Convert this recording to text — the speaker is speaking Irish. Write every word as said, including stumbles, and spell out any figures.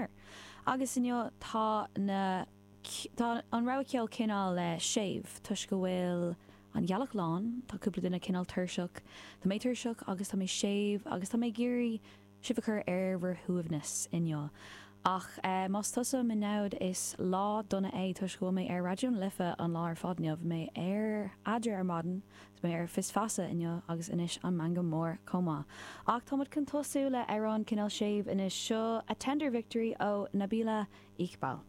Emer. Agus inniu tá na tá an rogha ceoil cineál le séimh toisc go bhfuil an ghealach lán, tá cúpla duine cineál tuirseach, Tá mé tuirseach agus tá mé séimh agus tá mé ag iarraidh sibh a chur ar bhur shuaimhneas inniu. Ach eh, más tusa mo namhaid is lá dona é toisc go bhfuil mé ar Raidió na Life an lá ar fad inniu mé ar Eadra ar maidin, mé ar Fios Feasa inniu agus anois an Meangadh Mór chomh maith. Ach táimid chun tosú le amhrán cineál séimh anois seo a Tender Victory ó Nabila Iqbal.